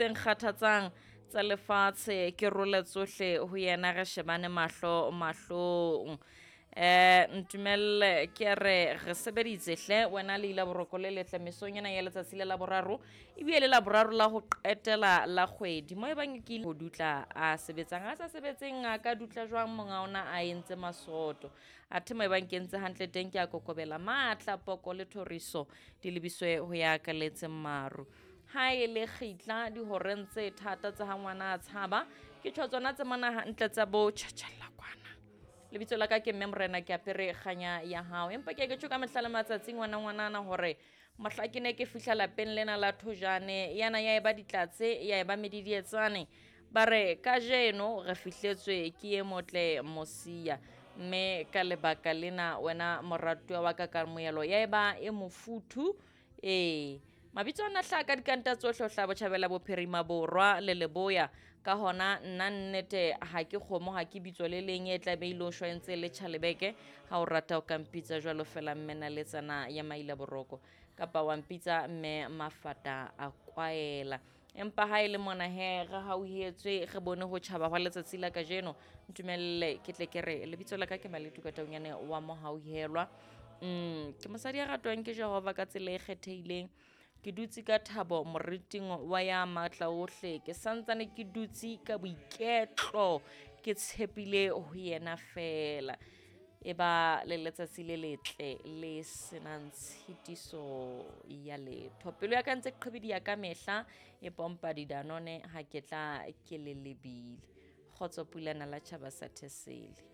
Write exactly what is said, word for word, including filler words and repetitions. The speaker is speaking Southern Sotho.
Tse nkgathatsang tsa lefatshe ke role tsohle ho yena, re shebane mahlo mahlong. Eh ntumelle ke re re sebeditse hle wena le ila boroko le letle mesong ena ya letsatsi le la boraro, ebile le la boraro la ho qetela la kgwedi. Mo ebang ke ho dutla a sebetsang, a sa sebetseng a ka dutla jwang monga ona a entse masoto. Athe mo ebang ke entse hantle teng ke a kokobela matla, poko le thoriso di lebiswe ho ya ka letseng maru. Ha e le kgitla dihoreng tse thata tsa ha ngwana a tshaba, ke tjho tsona tse mona hantle tsa bo tjhatjhella kwana. Lebitso la ka ke Mme Morena, ke apere kganya ya hao. Empa ke ke tjho ka mehla le matsatsi ngwana ngwanana hore mohla ke ne ke fihla lapeng lena la Thojane, yana ya eba ditlatse, ya eba medidietsane. Ba re kajeno re fihletswe ke e motle Mosia, mme ka lebaka lena wena moratuwa wa ka kamohelo ya eba e mofuthu. Ee, mabitso ana hlaha ka dikanta tsohle ho hlaha botjhabela, bophirima, borwa le leboya. Ka hona nna nnete ha ke kgomo, ha ke bitso le leng e tla be ile o shwa ntse le tjhalebeke. Ha o rata o ka mpitsa jwalo fela mme naletsana ya maila boroko, kapa wa mpitsa mme mafata a kwaela. Empa ha e le mona he re hauhetswe, re bone ho tjhaba hwa letsatsi la kajeno, ntumelle ke tle ke re lebitso la ka ke Maletu Kataunyane wa Mohauhelwa. Mm, ke mosadi ya ratwang ke Jehova ka tsela e kgethehileng. Ke dutse ka thabo moriting wa ya matla ohle, ke santsane ke dutse ka boiketlo, ke tshepile ho yena fela. E ba le letsatsi le letle le senang tshitiso ya letho. Pelo ya ka ntse qhibidiya ka mehla, e pompa didanone ha ke tla ke le lebile. Kgotso pulana la tjhaba sa Thesele.